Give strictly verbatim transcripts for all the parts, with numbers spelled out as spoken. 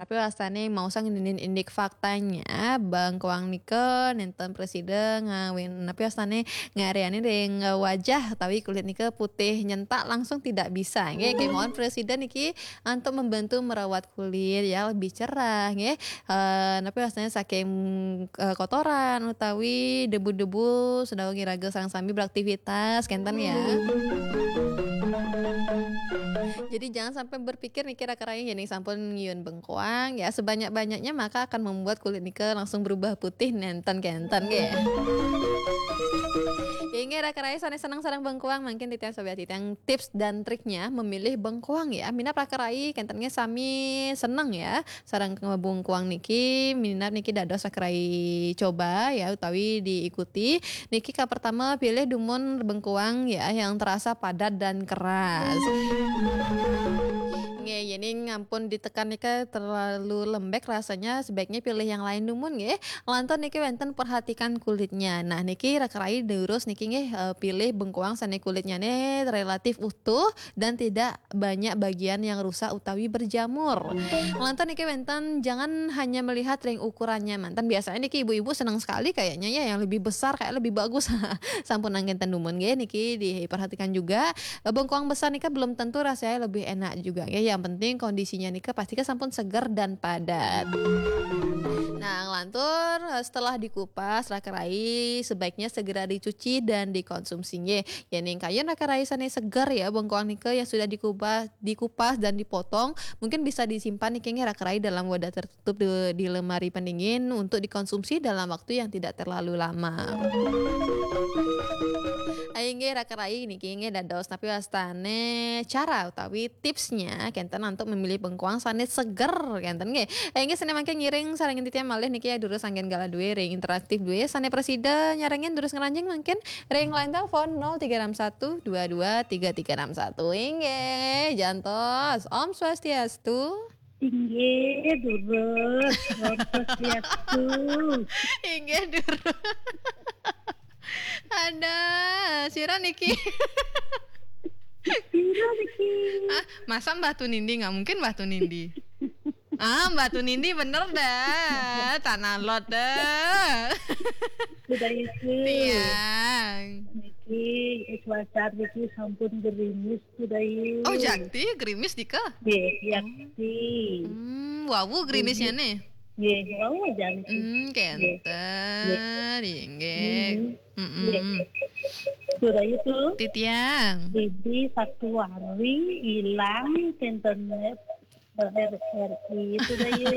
Tapi wastane mau sang nindin indik faktanya, bengkoang nika nenten presida ngawin, tapi wastane ngariani ring wajah utawi kulit nika putih nyentak langsung tidak bisa, nggih. Kemawon presida niki untuk membantu merawat kulit ya lebih cerah, nggih. Eh, tapi wastane saking, eh, kotoran utawi debu-debu sedawang iraga sareng sami beraktivitas, kenten ya. Jadi jangan sampai berpikir niki raka rai, yening sampun ngiun bengkoang ya, sebanyak-banyaknya maka akan membuat kulit nika langsung berubah putih nenten kenten, nggih. Inggih raka rai sane seneng sareng bengkoang, mangkin titiang sobat titiang tips dan triknya memilih bengkoang ya. Minab raka rai kenten nggih sami seneng ya sareng bengkoang niki, minab niki dados raka rai coba ya utawi diikuti. Niki ka pertama pilih dumun bengkoang ya yang terasa padat dan keras. Nggih, yening ampun ditekan nika terlalu lembek rasanya, sebaiknya pilih yang lain dumun nggih. Lantur niki wenten perhatikan kulitnya. Nah, niki raka rai durus niki nggih, eh, pilih bengkoang sane kulitnya ne relatif utuh dan tidak banyak bagian yang rusak utawi berjamur. Lantur niki wenten jangan hanya melihat ring ukurannya manten. Biasanya niki ibu-ibu senang sekali kayaknya ya yang lebih besar kayak lebih bagus. Sampun nangkin tendumun nggih niki diperhatikan juga. Eh, bengkoang besar nika belum tentu rasanya lebih enak juga ya. Yang penting kondisinya nika pasti sampun seger dan padat. Nah, lantur eh, setelah dikupas raka rai sebaiknya segera dicuci dan dikonsumsi nggih. Yening kayun raka rai sane seger ya bengkoang nika yang sudah dikupas, dikupas dan dipotong, mungkin bisa disimpan niki nggih raka rai dalam wadah tertutup di, di lemari pendingin untuk dikonsumsi dalam waktu yang tidak terlalu lama. Ayo nggih raka rai niki nggih dados tapi wastane cara utawi tipsnya kenten untuk memilih bengkoang sane seger kenten nggih. Ayo nggih sane mangke ngiring sareng titiang malih niki ya durus anggen galah duwe ring interaktif duwe sane presida nyarengin durus ngranjing mangkin ring line telepon nol tiga enam satu dua dua tiga tiga enam satu. Inggih, jantos. Om Swastiastu. Inggih, durus. Om Swastiastu. Inggih, durus. Ada, sira niki. Sira niki. Ah, masa Mbah Tunindi? Nggak mungkin Mbah Tunindi. Ah, Mbah Tunindi bener dah. Tanah lot dah. Sudah itu. Tiang. Niki, cuaca niki sampun gerimis sudah itu. Oh, jakti gerimis dika? Nggih, jakti. Hmm, wawu gerimisnya nih. Nggih, wawu jakti. Hmm, kenten. Inggih. Hmm. Mm-mm. Nggih. Sudah itu. Titiang. Bibi satu hari hilang internet. R R I itu dah ya.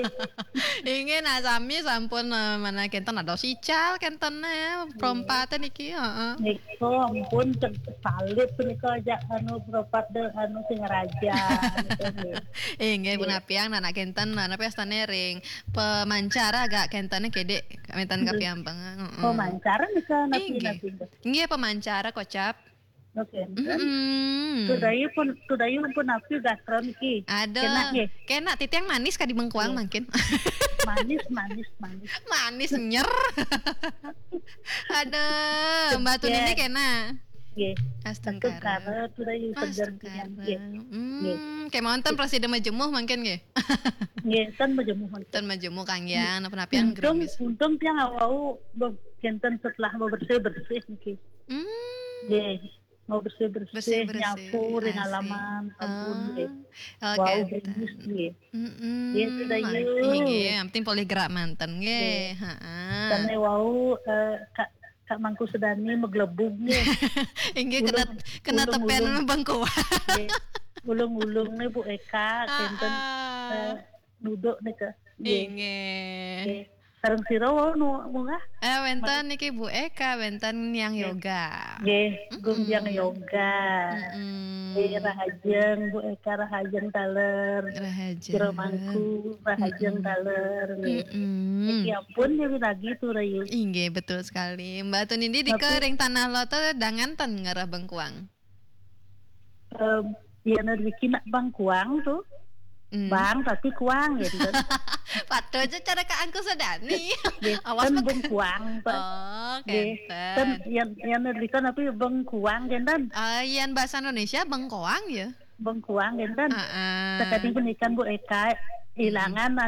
Inggih, nah sami sampun, eh, mana kenten ada sical kenten ya, perompatan niki, heeh. Nika ampun ter-, salib nika aja anu perompat de-, anu sing raja gitu, nggih. Inggih, punapiang nah, nak kenten nah, napi astane ring pemancara agak kentene kedek kenten kapiampeng, heeh. Pemancara nika napi, inggih. Napi. Inggih, pemancara kocap. Oke. Mm-mm. Tudayu pun, tudayu pun napi gastron ki. Aduh. Kena nggih. Kena titiang manis kadi bengkoang mangkin. Manis, manis, manis. Manis nyer. Aduh, Mbak Tun ini kena. Nggih. Astungkara. Astungkara, tudayu seger. Astungkara. Nggih. Hmm, nggih. Kayak mau nonton presiden majemuh mangkin nggih. Nggih, ten majemuh mangkin. Ten majemuh kang yang, napa-napa yang untung, gerimis. Untung tiang awau be-, kenten setelah bebersih-bersih niki. Hmm. Nggih. Mau bersih-bersih, bersih-bersih, nyapu ring halaman, kebun, nggih. Oh, wau, kenten. Gerimis, nggih. Mm-mm. Nggih, sudah, nah, yuk. Inggih, yang penting polih gerak manten, nggih. Nggih. Heeh. Sane wau, eh, Kak, Kak Mangku Sedani meglebug, nggih. Inggih, kena, kena tepen bengkoang. Nggih. Ulung-ulung nih Bu Eka, kenten, eh, duduk nih ke. Nggih. Inggih. Nggih. Sareng sira wau nu munggah? Eh, wenten niki Bu Eka, wenten Niang Yoga. Nggih, Gung Niang Yoga. Mm-mm. Nggih, rahajeng Bu Eka, rahajeng taler. Rahajeng. Jero Mangku, rahajeng taler. Nggih. Mm-mm. Niki ampun ya lagi tuh rayu. Inggih, betul sekali. Mbak Tun Indi di kering tanah loto dangan ten ngarah bengkuang. Em, ya neriki nak bengkuang tuh. Hmm. Bang tapi kuang gitu. Patuh aja cara Kak Angku Sedani. Nggih, awas kan bet- bengkuang, Pak. Oh, nggih, kenten. Kan yang, yang neriki kan tapi bengkuang kenten. Ah, yang bahasa Indonesia bengkoang ya? Bengkuang kenten. Heeh. Sekali pun ikan Bu Eka, ilangan anu